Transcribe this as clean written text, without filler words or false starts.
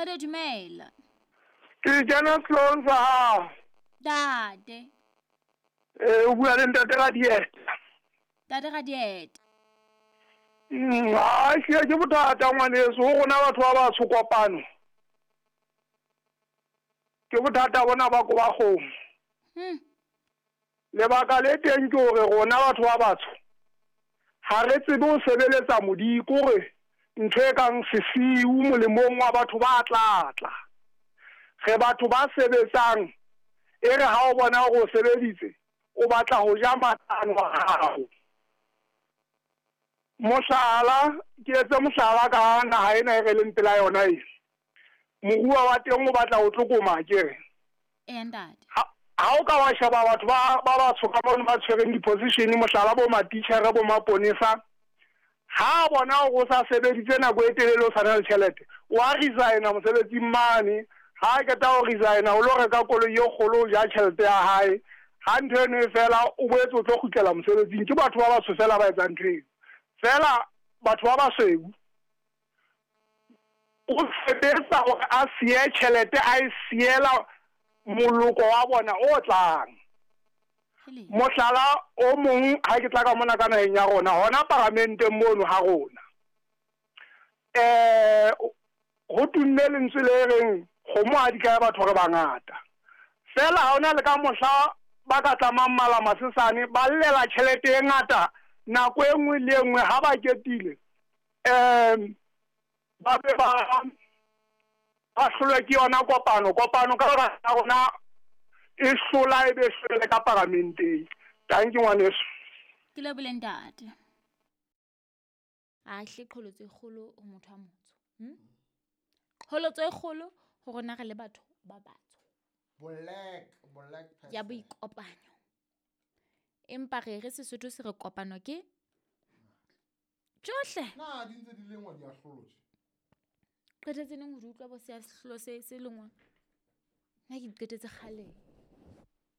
Qede dumela. Ke kena sehloohong sa hao. Ntate. Ee, o bua le ntate Radieta. Ntate Radieta. Ha ehlile ke bothata ngwaneso ho rona batho ba batsho kopano. Ke bothata bona ba koba kgomo. Lebaka le teng ke hore rona batho ba batsho ha re tsebe ho sebeletsa Modimo, ke hore ntho e kang sesiu molemong wa batho ba tla tla. Re batho ba sebetsang, e re ha o bona hore o sebeditse, o batla ho ja matlano a hao. Mohlala, ke etse mohlala ka naha ena e re leng pela yona e. Moruo wa teng o batla ho tlokoma akere? Eya ntate. Ha, ha o ka wa sheba batho ba ba batsho ka mono ba tshwereng di-position, mohlala bo matitjhere, bo maponesa, ha a bona hore o sa sebeditse nako e telele o sa na le tjhelete, wa resigna mosebetsing mane. Ha a qeta ho resigna o lo reka koloi e kgolo o ja tjhelete ya hae. Ha ntho eno e fela o boetse o tlo kgutlela mosebetsing. Ke batho ba batsho fela ba etsang ntho eo. Fela batho ba basweu o sebetsa hore a siye tjhelete a e siela moloko wa bona o tlang. Mohlala o mong ha ke tla ka mona ka naheng ya rona hona paramenteng mono ha rona eh ho tumme lentswe le reng kgomo ha di kae batho re bangata. Fela ha hona le ka mohla ba ka tlamang mala masesane ba llela tjhelete e ngata nako e nngwe le e nngwe ha ba ketile. Um ba be ba ba hlolwe ke yona kopano. Kopano ka baka la rona e hlola e be hlole ka paramenteng. Tanki ngwaneso. Ke lebohile ntate. A hle qholotso e kgolo ho motho a motsho. Qholotso e kgolo ho rona re le batho ba batsho. Black, black person. Ya boikopanyo. Empa re re Sesotho se re kopano ke tsohle. Na di ntse di lengwa di ahlolo tje? Qetetse neng ho di utlwa bo se ahlolo se se lengwang? Nna ke di qetetse kgale.